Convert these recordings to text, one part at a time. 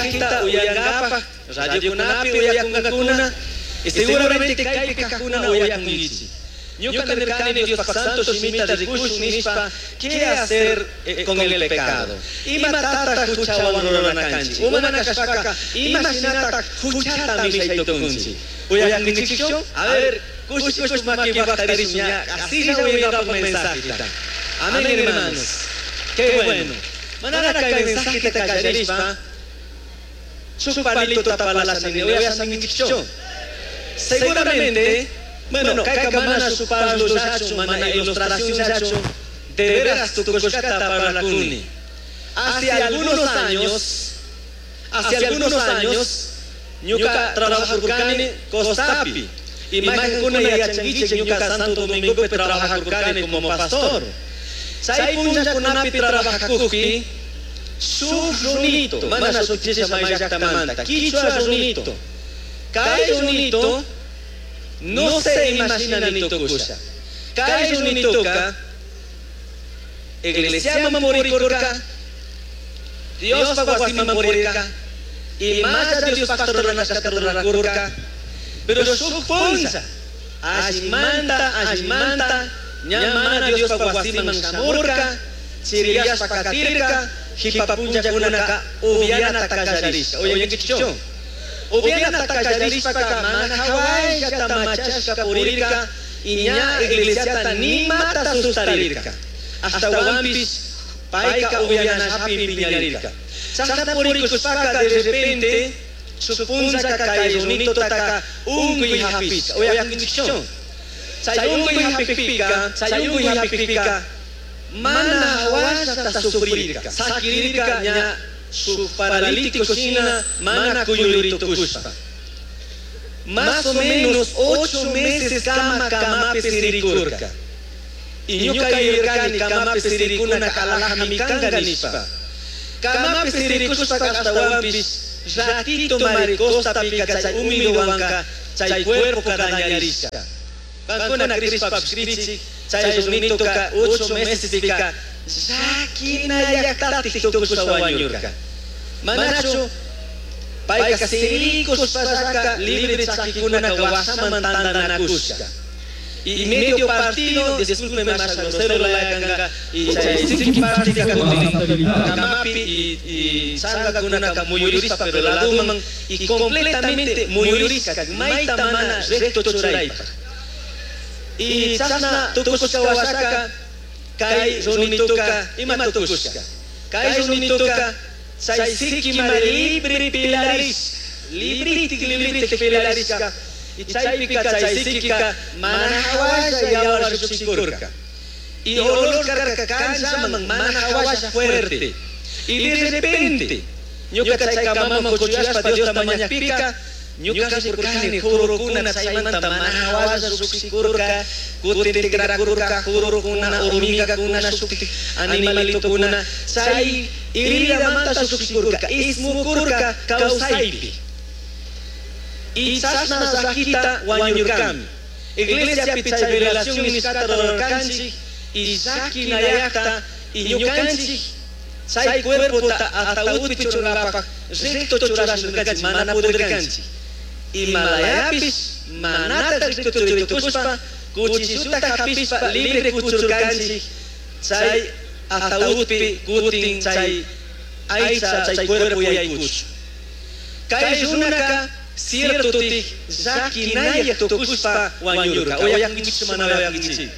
Mensajeta uyangapaj, radiokunapi uyakunkakuna, y seguramente kaypi kajkuna uyakunkichik. Ñuka nirkani Diospaj santo shimita rikushun nishpa, ¿qué hacer con el pecado? Imatataq huchawan rurana kanchik? Umana kashpaka, imashinataq huchata mishay tukunchik? Uyakunkichikchu? A ver, kush kush maki waqtarishun ña, asilla uyangapaj mensajeta. Amén, hermanos. Qué bueno. Manara kay mensajeta kallarishpa, shuk palito tapalasha uyashankichikchu? Seguramente, bueno, kayka mana shuk parlollachu, mana ilustracionllachu, de veras tukushkata parlakuni. Hace algunos años, ñuka trabajakurkani Costapi. Y mayqankuna yachankichik ñuka Santo Domingopi trabajakurkani como pastor. Chay punllakunapi trabajakukpi, shuk runito, mana shukchisha may llaktamanta, kichwa runito. Kay runito, no se imagina ni tukusha. Kay runitoka, iglesiaman purikurka, Diospaj wasiman purirka, y más Diospaj ruranashkata rurakurka, pero shuk punlla, allimanta, allimanta, ña mana Diospaj wasiman shamurka, chiriyashpa katirka, jipa punllakunaka upianata kallarishka. Uyankichikchu? Upianata kallarishpaka mana hawayllata machashka purirka, y ña iglesiata nimata sustarirka. Ashtawanpish payka upianashapi piñarirka. Chashna purikushpaka de repente shuk punllaka kay runitotaka unkuy hapishka. Uyankichikchu? Chay unkuy hapikpika, chay unkuy hapikpika, mana hawashata sufrirka. Sakirirka ña shuk paralítico shina mana kuyuri tukushpa. Más o menos 8 meses kama kamapi sirikurka. Y ñuka yuyarkani kamapi sirikunaka alajami kanka nishpa. Kamapi sirikushpaka ashtawanpish ratito mari costapika chay humidowanka chay cuerpoka dañarishka. Kankuna crishpapish crichik, chay runitoka 8 mesespika llakinayaktatik tukushpa wañurka. Manachu payka sirikushpallaka libre chakikunaka washaman tantanakushka. Y medio partido, discúlpeme más grosero la kanga, y chay siki partika kamapi y chankakunaka muyurishpa pero laduman y completamente muyurishka mayta mana recto churaypaj. Y chashna tukushka washaka kay runituka ima tukushka. Kay runituka chay sikima libre pilarish, libritik libritik pilarishka. Y chaypika chay sikika mana hawasha yawar llukshikurka. Y olor karka kanchaman mana hawasha fuerte. Y de repente, ñuka chay kamaman kuchuyashpa Diosta mañakpika, ñuka rikurkani jurukuna chaymanta mana hawasha llukshikurka, kutin tikrakurka, jurukuna, hormigakuna, shuktik animalitokuna, chay heridamanta llukshikurka, ismukurka kawsaypi. Y chashna llakita wañurkami. Iglesiapi chay velación nishkata rurarkanchik y llakinayakta y ñukanchik chay cuerpota ataúdpi churanapak recto churashurkanchik mana pudirkanchik. Imalayapish manata recto churitukushpa cuchilluta hapishpa libre kuchurkanchik chay ataúdpi kutin chay aycha chay cuerpo yaykuchu. Kay runaka cierto tik llakinayak tukushpa wañurka. Uyankichik mana uyankichik?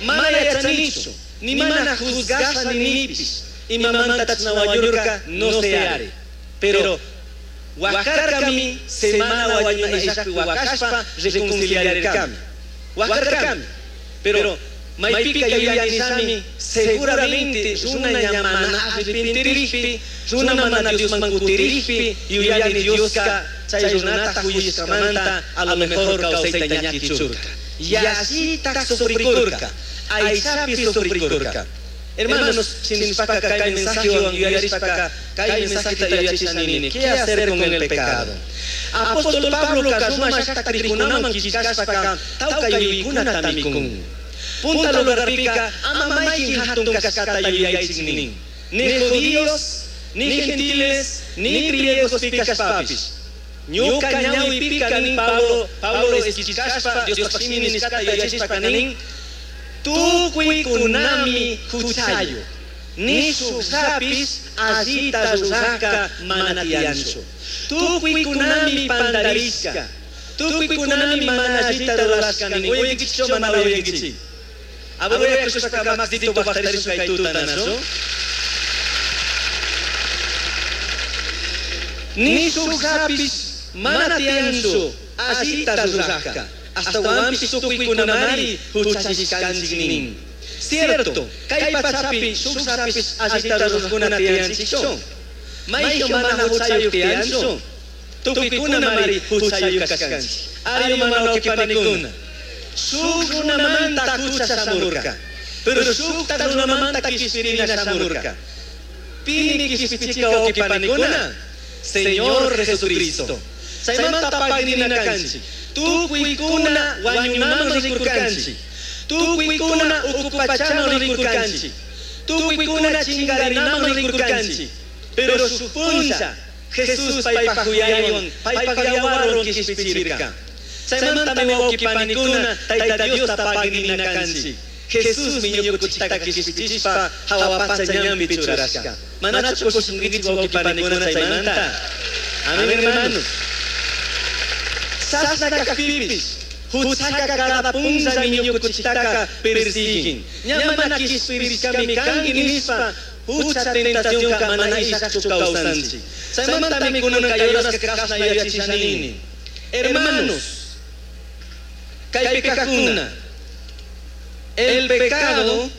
Mana yachanichu, ni mana juzgasha ninipish. Imamanta chashna wañurka no sé ari. Pero wakarkami semana wañuna illakpi wakashpa reconciliarkami. Wakarkami. Pero maypika yuyanishami seguramente runa ña mana arrepentirikpi, runa mana Diosman kutirikpi, yuyani Dioska chay runata juyashkamanta a lo mejor kawsayta ña kichurka. Yallita sufrikurka, aychapi sufrikurka. Hermanos, shinishpaka kay mensajewan yuyarishpaka kay mensajeta yuyachisha nini, ¿qué hacer con el pecado? Apóstol Pablo Roma llaktakrikunaman killkashpaka tawka yuyaykunata mikun. Punta lugarpika ama maykin hatun kashkata yuyaychik nin. Ni judíos, Ni gentiles, ni griegos cashpapish. Ñuka ñawipika nin Pablo, Pablo esquichkashpa, Diospaj shimi nishkata yuyachishpaka nin, tukuykunami huchayu. Ni shukllapish allita rurajka mana tiyanchu. Tukuykunami pandarishka. Tukuykunami mana allita rurashka nin. Uyankichikchu mana uyankichik? Abuelo makitito pajtarishun kay tuta, nachu? Ni shukllapish mana tiyanchu allita rurajka. Ashtawanpish tukuykunamari huchachishkanchik nin. Cierto, kay pachapi shukllapish allita rurajkuna tiyanchikchu. Mayju mana huchayuq tiyanchu. Tukuykunamari huchayuq kashkanchik. Ari mana wawqipanikuna. Shuk runamanta hucha shamurka. Pero shukta runamanta kishpirina shamurka. Pimi kishpichika wawqipanikuna. Señor Jesucristo. Chaymanta pagrina kanchik. Tukuykuna wañunaman rikurkanchik. Tukuykuna uku pachaman rikurkanchik. Tukuykuna chingarinaman rikurkanchik. Pero shuk punlla Jesús paypaj huyaywan, paypaj yawarwan kishpichirka. Chaymantami wawqipanikuna Tayta Diosta pagrina kanchik. Jesús ñukanchiktaka kishpichishpa hawa pacha ñanpi churashka. Manachu kushinkichik wawqipanikuna chaymanta? Amén, hermanos. Chashna kajpipish huchaka cada punllami ñukanchiktaka persiguen. Ña mana kishpirishkami kanki nishpa hucha tentacionka mana ishakchu kawsanchik. Chaymantami kunan kay horaska kashna yuyachisha nini. Hermanos, kaypi kajkuna, el pecado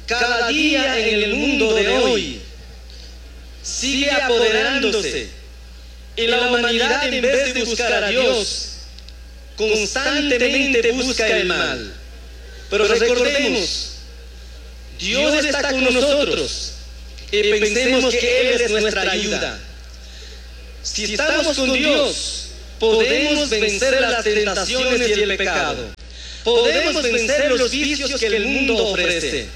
cada día en el mundo de hoy sigue apoderándose y la humanidad, en vez de buscar a Dios, constantemente busca el mal. Pero recordemos, Dios está con nosotros y pensemos que Él es nuestra ayuda. Si estamos con Dios, podemos vencer las tentaciones y el pecado. Podemos vencer los vicios que el mundo ofrece.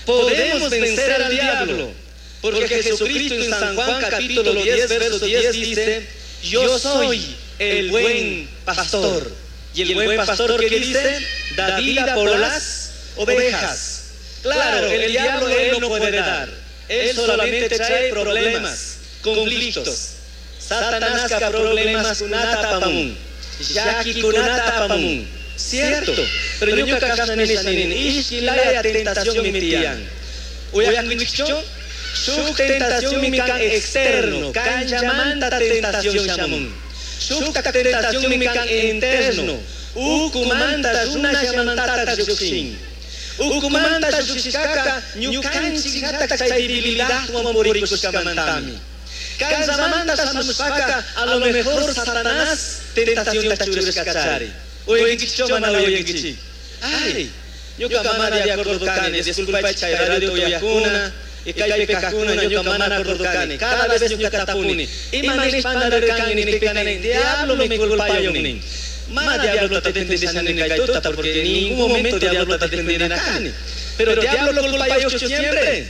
Podemos vencer al diablo. Porque Jesucristo en San Juan capítulo 10, verso 10 dice: yo soy el buen pastor. Y el buen pastor, que dice, da vida por las ovejas. Claro, el diablo él no puede dar. Él solamente trae problemas, conflictos. Satanás ka problemas kunata apamun. Llaquikunata apamun. Cierto, pero ñuka kashna nisha nini, ishki laya tentación mi tiyan. Uyankichikchu? Shuk tentación mi kan externo, kanchamanta tentación shamun. Shuk tentación mi kan interno, ukumanta runallamantata llukshin. Ukumanta llukshishkaka ñukanchikllatak chay debilidadwan purikushkamantami. Kanchamanta shamushpaka a lo mejor Satanás tentación churashkachari. Uyankichikchu mana uyankichik? Ay, ñuka mana de acuerdo kani, disculpay chay radio uyakuna. Y kaypi kajkuna ñuka mana acuerdo kani. Cada vez ñuka tapuni. Ima nishpa pandarkani nijpika diablo mi culpayon nin. Ma diablo ta defendishani kay tuta, porque en ningún momento diablo ta defendina kani. Pero diablo culpayochu siempre.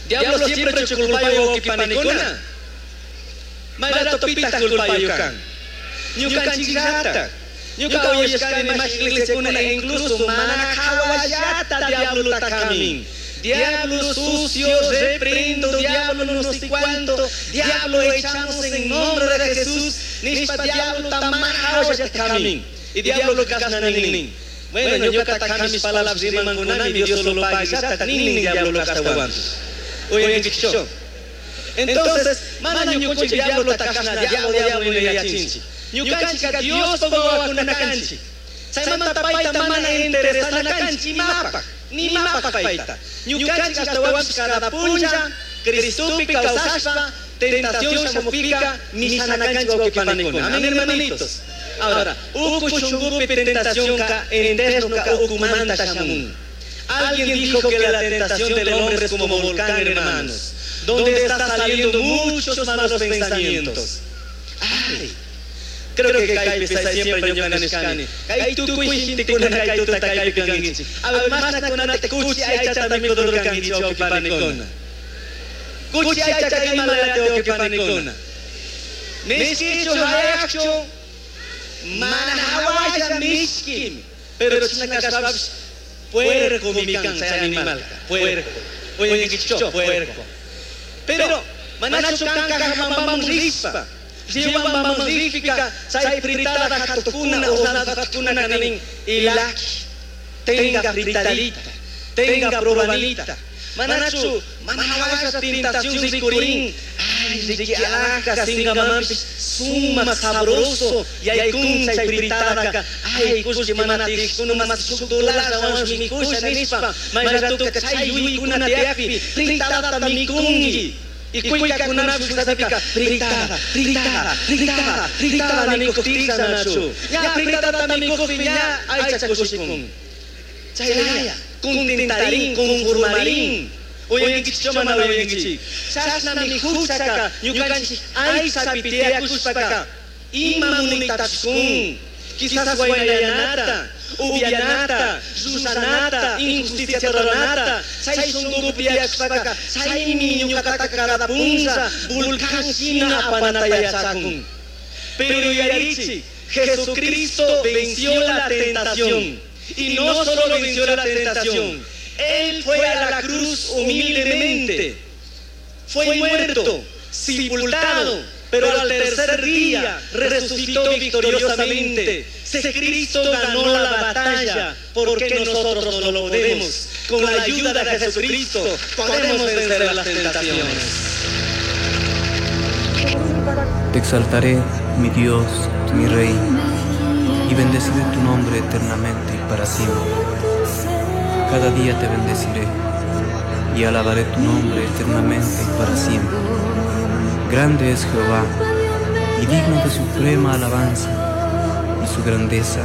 Diablo siempre chu culpayo wawqipanikuna. Mayrato pitaq culpayo kan. Ñukanchikllata. Ñuka uyashkani mash iglesiakuna incluso mana hawallata diablota kamin. Diablo sucio, reprendo, diablo no sé cuánto, diablo echamos en nombre de Jesús, nishpa diablo tamana hawallata kamin. Y diablo kashna nin. Bueno, ñuka kamish palabras rimankunami, Dios solo paguillata nin diablo ashtawanpish. Uyankichikchu? Entonces, mana ñukanchik diablo kashna, diablo, diablo yuyachinchik. Ñukanchika Diospaj wawakuna kanchik. Chaymanta payta mana interesana kanchik imapaj, ni imapaj payta. Ñukanchik ashtawanpish cada punlla Cristopi kawsashpa tentación shamukpika mishana kanchik wawqipanikuna. Amén, hermanitos. Ahora, uku shunkupi tentación ka interno ka ukumanta shamun. Alguien dijo que la tentación del hombre es como volcán, hermanos, donde está saliendo muchos malos pensamientos. Ay, creo que kaypi siempre ñuka nishkani. Kay tukuy gentekuna kay tuta kaypi kankichik. A ver, mashnakunata kuchi aychata mikudurkankichik wawqipanikuna. Kuchi aychaka imalayata wawqipanikuna. Mishkichu hayaqchu mana hawalla mishkimi. Pero chashna kashpapish puercomi kan chay animalka, puerco. Uyankichikchu puerco. Pero manachu kan Cajamarcaman rishpa, Riobambaman rikpika chay fritada hatukuna, hornada hatukuna kanin ilaki, tenga fritadita, tenga probanita. Manachu mana hawalla tentación rikurin, ay riki alhaja singamanpish sumak sabroso yaykun chay fritadaka, ay kullki mana tiyajkuna mas shuk dolarllawansh mikusha nishpa, may ratoka chay yuyaykuna tiyakpi fritadata mikunki. Y kuykakunapish kusapika fritada, fritada, fritada, fritada nikuktisha nachu. Ña fritadata mikukpi ña aycha kushikun. Chaylaya, contentarin, conformarin. Uyankichik mana uyankichik. Chashnami huchaka ñukanchik aychapi tiyakushpaka ima munaytapish kun. Quizás waynayanata, upyanata, llusanata, injusticia ruranata, chay shunkupi tiyakushpaka chaymi ñuqataka cada punlla volcán shina apanata yachakun. Pero yuyarichik, Jesucristo venció la tentación. Y no solo venció la tentación, Él fue a la cruz humildemente. Fue muerto, sepultado, pero al tercer día resucitó victoriosamente. Si Cristo ganó la batalla, ¿por qué nosotros no lo podemos? Con la ayuda de Jesucristo podemos vencer las tentaciones. Te exaltaré, mi Dios, mi Rey, y bendeciré tu nombre eternamente y para siempre. Cada día te bendeciré y alabaré tu nombre eternamente y para siempre. Grande es Jehová y digno de suprema alabanza, y su grandeza